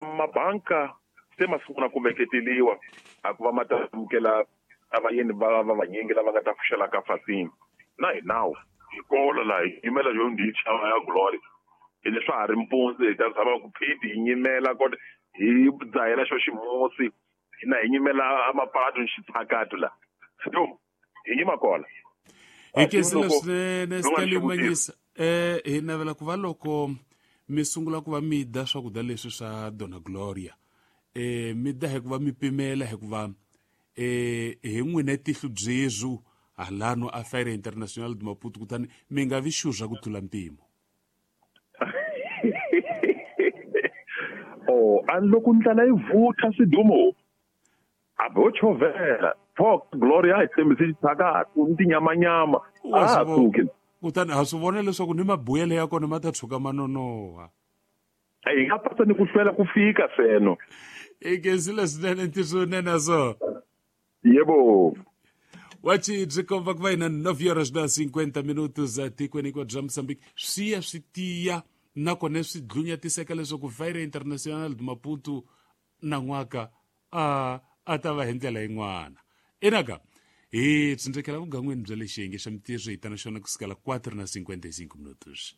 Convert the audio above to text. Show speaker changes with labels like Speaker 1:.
Speaker 1: Mabanka se ma sungula ku veketeliwa a ku va ma ta amukela a vayeni va va vanyingi lava nga ta pfuxela ka fasini na hi nawu hi kolo laha hi yimela yo ndichava ya glory ene swa ha ri mpundzu hi ta zama ku phiti hi nyimela kota hi dzahela xo ximusi na hi nyimela amapatu ni xitshakatu la so hi yima kona.
Speaker 2: Hi khensile swinene Stanley Manyisa. Hi navela ku va loko mi sungula ku va mi dya swakudya leswi swa Dona Gloria mi dya hi ku va mi pimela hikuva hi n'wina tihlo byezwu halano a Feira Internacional de Maputo kutani mi nga vi xurha ku tlula mpimo.
Speaker 1: Oh, a loko ndlala yi vutha swidumo a bo chovela pho Gloria a hi tshembisi xitshakatu ni tinyamanyama a ha suki.
Speaker 2: Kutani ha swi vona leswaku ni mabuyelo ya kona ma ta tshuka ma nonoha.
Speaker 1: Hi nga pasa ni ku hlwela ku fika seno.
Speaker 2: I khensile swinene ntiso nene so.
Speaker 1: Yebo.
Speaker 2: Wachi byi komba ku va hina 9 horas na 50 minutos etikweni hinkwaro bya Mozambique swi ya swi tiya nakona swi dlunyatiseka leswaku Feira Internacional de Maputo nan'waka a a ta va hi ndlela yin'wana. Inaka hi tsindzekela vugan'wini bya le xiyenge xa mintirho hi ta na xona ku sukela 4 na 55 minutos.